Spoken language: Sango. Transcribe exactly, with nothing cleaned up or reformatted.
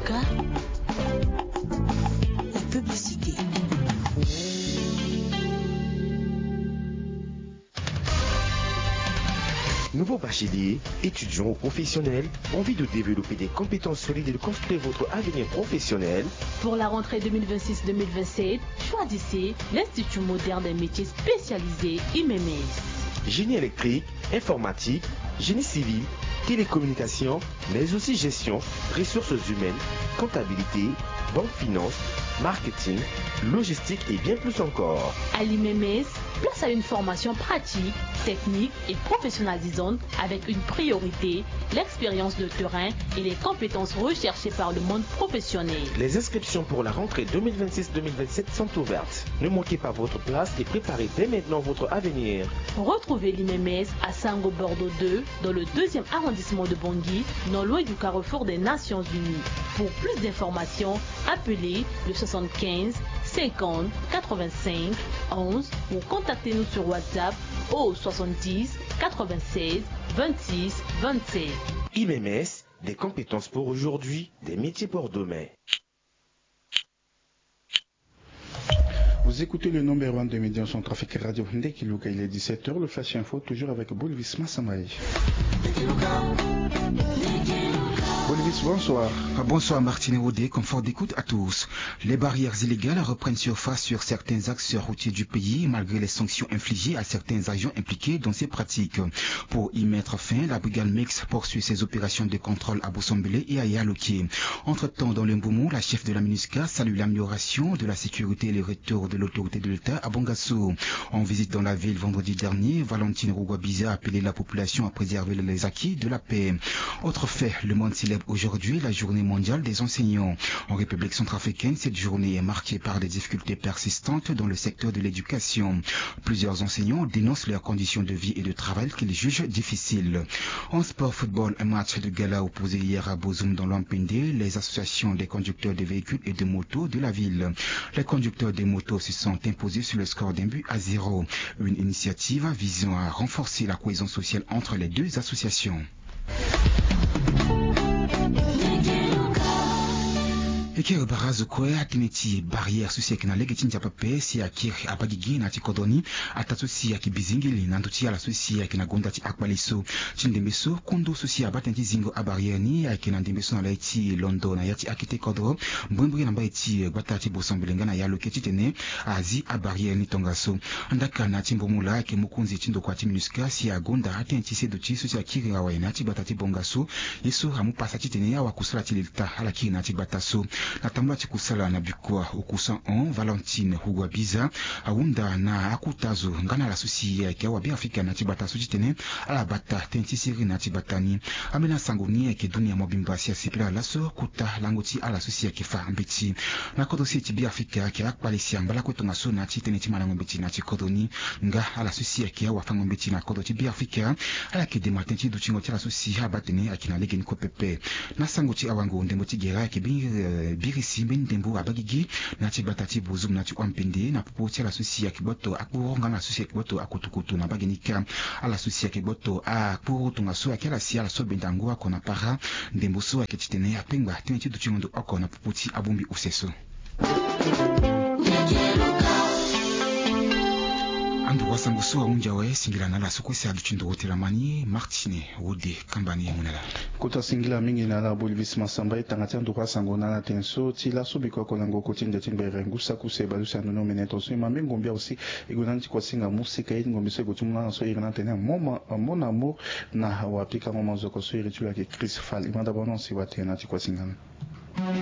Ka, la publicité. Nouveau bachelier, étudiant ou professionnel, envie de développer des compétences solides et de construire votre avenir professionnel ? Pour la rentrée deux mille vingt-six deux mille vingt-sept, choisissez l'Institut moderne des métiers spécialisés I M M S. Génie électrique, informatique, génie civil, télécommunication, mais aussi gestion, ressources humaines, comptabilité, banque finance, marketing, logistique et bien plus encore. À l'I M M S, place à une formation pratique, technique et professionnalisante avec une priorité, l'expérience de terrain et les compétences recherchées par le monde professionnel. Les inscriptions pour la rentrée deux mille vingt-six deux mille vingt-sept sont ouvertes. Ne manquez pas votre place et préparez dès maintenant votre avenir. Retrouvez l'I M M S à Sango Bordeaux deux, dans le deuxième arrondissement de Bangui, non loin du carrefour des Nations Unies. Pour plus d'informations, appelez le soixante-quinze cinquante quatre-vingt-cinq onze ou contactez-nous sur WhatsApp au soixante-dix quatre-vingt-seize vingt-six vingt-sept. I M M S, des compétences pour aujourd'hui, des métiers pour demain. Vous écoutez le numéro un de médias centrafricains Radio Ndeki Luka, il est dix-sept heures, le Flash Info, toujours avec Bolvis Massambaye. Bolvis, bonsoir. Bonsoir Martine Rodé, confort d'écoute à tous. Les barrières illégales reprennent surface sur certains axes routiers du pays, malgré les sanctions infligées à certains agents impliqués dans ces pratiques. Pour y mettre fin, la brigade mixte poursuit ses opérations de contrôle à Bossombélé et à Yaloké. Entre-temps, dans le Mbomou, la chef de la MINUSCA salue l'amélioration de la sécurité et le retour de l'autorité de l'État à Bangassou. En visite dans la ville vendredi dernier, Valentine Rugwabiza a appelé la population à préserver les acquis de la paix. Autre fait, le monde célèbre aujourd'hui la journée mondiale des enseignants. En République centrafricaine, cette journée est marquée par des difficultés persistantes dans le secteur de l'éducation. Plusieurs enseignants dénoncent leurs conditions de vie et de travail qu'ils jugent difficiles. En sport football, un match de gala opposé hier à Bozoum dans l'Ampende les associations des conducteurs de véhicules et de motos de la ville. Les conducteurs des motos se sont imposés sur le score d'un but à zéro. Une initiative visant à renforcer la cohésion sociale entre les deux associations. E kiri bara azo kue atënë ti barrière so si ayeke na lege ti ndia pepe si akiri abagigi na ya ti kodro ni. Ataa so si ayeke bizingili na ndö ti ala so si ayeke na gonda ti akpale so. Ti ndembe so kondo so si abaa tënë ti zingo abarrière ni ayeke na ndembe so na lai ti londo na ya ti akete kodro, mbrimbri na mbai ti gbata ti Bossombélé nga na Yaloké titene azi abarrière ni tongaso. Andaka na ya ti mbomula ayeke mokonzi ti ndokua ti MINUSCA si agonda atënë ti seduti so si akiri awe na ya ti gbata ti Bangassou. Ye so amu pasa titene awakusala ti leta ala kiri na ya ti gbata so. Na tambula ti kusala na bikua okusa hon, Valentine Rugwabiza ahunda na akota zo nga na ala so si ayeke awabeafrika na ya ti gbata so titene ala bata tënë ti siriri na ya ti gbata ni. Ambeni asango ni ayeke dunia mobimba si asepela laso kota lango ti ala so si ayeke fa mbeti. Na kodro siriri ti Beafrika ayeke akpale si angba lakue tongaso na ya ti tënë ti malango mbeti na ya ti kodro ni. Nga ala so si ayeke awafango mbeti na kodro ti Beafrika ala yeke dema tënë ti dutingo ti ala so si abaa atene ayeke na lege ni kue pepe. Na sango ti awango, ndembo ti gere ayeke biri, eh, biri si mbeni ndembo abagigi na ya ti gbata ti Bozoum na ya ti Ampende na popo ti ala so si ayeke gboto akporo nga na ala so si ayeke gboto akutukutu na mbage ni kâ. Ala so si ayeke gboto akporo tongaso ayeke ala si ala so benda ngu oko na para. Ndembo so ayeke titene akpengba tënë ti dutingo ndo oko na popo ti abongbi use so. Anduru asango so ahunzi awe, singila na ala so kue si aduti nduru ti lama ni, Martine Wode. Kamba ni ye mu na ala. Kota singila mingi na ala Bolivis Masamba. E tanga ti anduru asango na ala tene so ti laso biko oko lango oko ti ndia ti ngbere ngu saki use baleuse ando ni omene tongaso e ma mbi ngombi awe si e gue na ni ti kuasinga mosika ye ti ngombi so e gue ti mu na ala so e iri na ala tene Mon amour na wapikango manzoko so iri ti lo ayeke Chris Fall. E ma dabord na ala si watene na ti kuasinga ni.